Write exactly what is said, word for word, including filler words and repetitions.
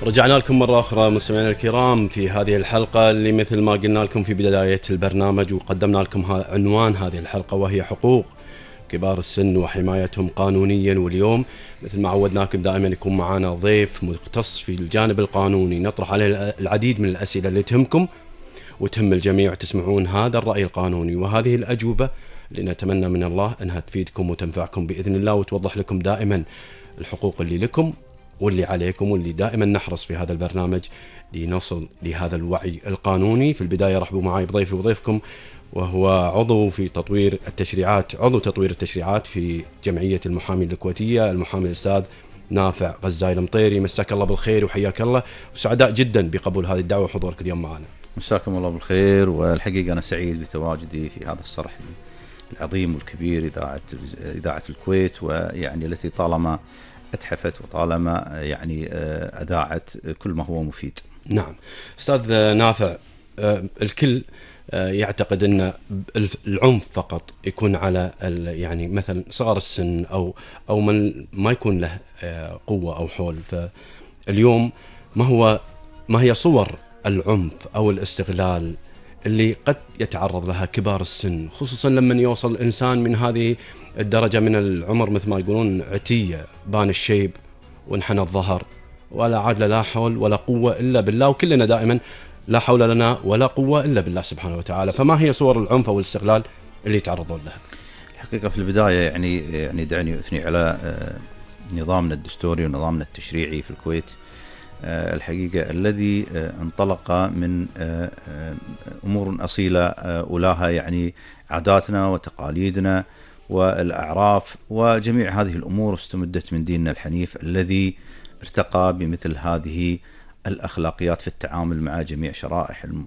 رجعنا لكم مرة أخرى مستمعينا الكرام في هذه الحلقة اللي مثل ما قلنا لكم في بداية البرنامج وقدمنا لكم عنوان هذه الحلقة، وهي حقوق كبار السن وحمايتهم قانونيا. واليوم مثل ما عودناكم دائما يكون معنا ضيف مختص في الجانب القانوني نطرح عليه العديد من الأسئلة اللي تهمكم وتهم الجميع، تسمعون هذا الرأي القانوني وهذه الأجوبة اللي نتمنى من الله أنها تفيدكم وتنفعكم بإذن الله، وتوضح لكم دائما الحقوق اللي لكم واللي عليكم، واللي دائما نحرص في هذا البرنامج لنصل لهذا الوعي القانوني. في البداية رحبوا معي بضيفي وضيفكم، وهو عضو في تطوير التشريعات عضو تطوير التشريعات في جمعية المحامي الكويتية، المحامي الأستاذ نافع غزاي المطيري. مساك الله بالخير وحياك الله، وسعداء جدا بقبول هذه الدعوة وحضورك اليوم معنا. مساكم الله بالخير، والحقيقة أنا سعيد بتواجدي في هذا الصرح العظيم والكبير، إذاعة إذاعة الكويت، ويعني التي طالما اتحفت وطالما يعني أذاعت كل ما هو مفيد. نعم أستاذ نافع، الكل يعتقد أن العنف فقط يكون على يعني مثلا صغار السن أو أو من ما يكون له قوة أو حول. فاليوم ما هو ما هي صور العنف أو الاستغلال اللي قد يتعرض لها كبار السن، خصوصا لما يوصل الإنسان من هذه الدرجة من العمر مثل ما يقولون عتية، بان الشيب وانحنى الظهر ولا عاد لا حول ولا قوة إلا بالله، وكلنا دائما لا حول لنا ولا قوة إلا بالله سبحانه وتعالى. فما هي صور العنف أو الاستغلال اللي يتعرضون لها؟ الحقيقة في البداية يعني يعني دعني أثني على نظامنا الدستوري ونظامنا التشريعي في الكويت، الحقيقة الذي انطلق من أمور أصيلة أولاها يعني عاداتنا وتقاليدنا والأعراف، وجميع هذه الأمور استمدت من ديننا الحنيف الذي ارتقى بمثل هذه الأخلاقيات في التعامل مع جميع شرائح